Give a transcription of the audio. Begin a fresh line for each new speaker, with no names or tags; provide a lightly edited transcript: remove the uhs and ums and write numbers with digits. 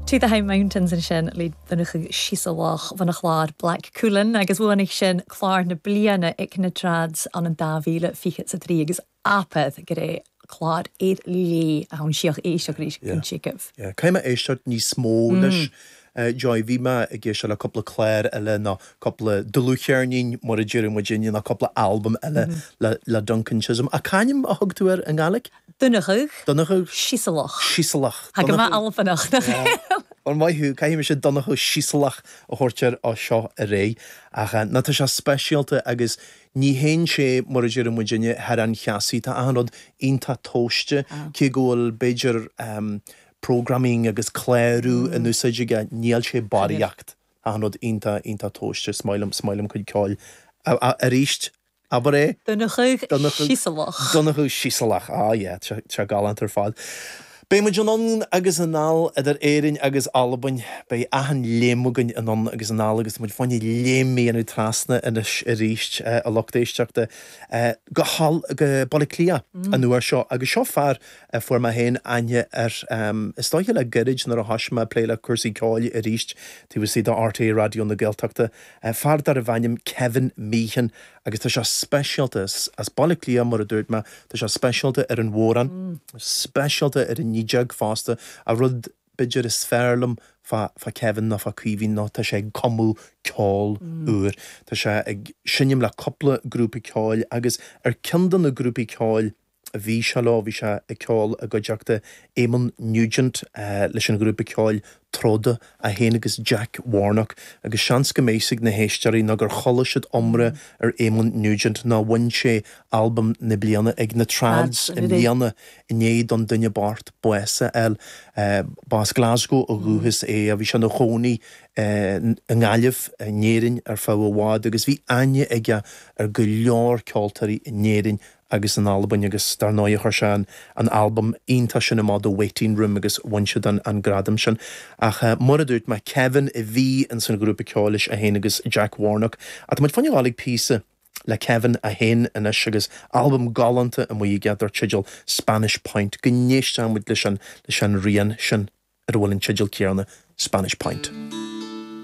To the High Mountains ansin le Donnchadh Siosabhlach bhon a chlàr Black Cuillin agus bhuanaigh sin clár na bliana ag na Trads ann an 2023 agus apaidh gur é clár ar léith a thabhann síoch éisteacht arís go dtiocfaidh.
Yeah. Caithfidh mé éisteacht níos mó leis Joy. Bhí mé ag éisteacht le cúpla clár eile nó cúpla dlúthcheirnín mar a deireadh muidinne nó cúpla albam eile le Duncan Chisholm. Ach c'ainm a thug tú air i nGaeilge?
Donnchadh.
Donnchadh.
Siosabhlach.
Siosabhlach.
Tá go maith Albanach, nach ea?
Bhuel, maith thú, caithfidh mise Donnchadh Siosabhlach a thabhairt air ó seo ar aghaidh. Ach ná tá sé speisialta agus ní théann sé, mar a deireadh muidinne, thar an cheasaí. Tá achan rud iontach tomhaiste, cé go bhfuil b'fhéidir programming agus clárú in úsáid aige, níl sé barraíocht. Achan rud iontach, iontach tomhaiste. Is maith liom, is maith liom a chuid ceoil. Arís, Abair é.
Donnchadh Siosabhlach.
Donnchadh Siosabhlach. Ah yeah, tá sé galánta ar fad. Beidh muid anonn agus anall idir Éirinn agus Albain. Beidh achan léim againn anonn agus anall agus tá muid fá choinne léim a dhéanamh trasna anois arís, a lucht éisteachta, go go Baile Átha Cliath an uair seo. Agus seo fear a fuair mé féin aithne air, is dóiche le gairid nuair a thoisigh mé ag plé le cúrsaí ceoil arís taobh istigh de RTÉ Raidió na Gaeltachta. Fear darbh ainm Kevin Meehan agus tá sé speisialta, as Baile Átha Cliath mar a dúirt mé, tá sé speisialta ar an bhodhrán, speisialta ar an fhidheog fosta. An rud b'fhéidir is fearr liom fá Kevin nó fá Caoimhín ná tá sé ag cumadh ceol úr. Tá sé ag seinm le cúpla grúpa ceoil agus ar ceann de na grúpaí ceoil a bhí sé leo, bhí sé ag ceol i gcuideachta Éamonn Nugent leis an ghrúpa ceoil Troda, é féin agus Jack Warnock, agus seans go mbeidh 'fhios ag na héisteoirí nó gur chuala siad iomrá ar Éamonn Nugent nó bhain sé albam na bliana ag na Trads i mbliana i ndiaidh don duine bocht bás a fháil. Ba as Glasgow ó dhúchas é, bhí sé ina chónaí i nGaillimh, in Éirinn ar feadh i bhfad agus bhí aithne aige ar go leor ceoltóirí in Éirinn agus in Albain agus dar ndóigh chuir sé an albam iontach sin amach The Waiting Room agus bhain siad an gradam sin. Ach mar a dúirt mé, Kevin a bhí ins an ghrúpa ceoil leis, é féin agus Jack Warnock. Ach tá muid fá choinne a ghabháil ag píosa le Kevin é féin anois agus albam galánta amuigh aige dar teideal Spanish Point. Go n-éistfidh muid leis an leis an rian sin ar a bhfuil an teideal céanna, Spanish Point.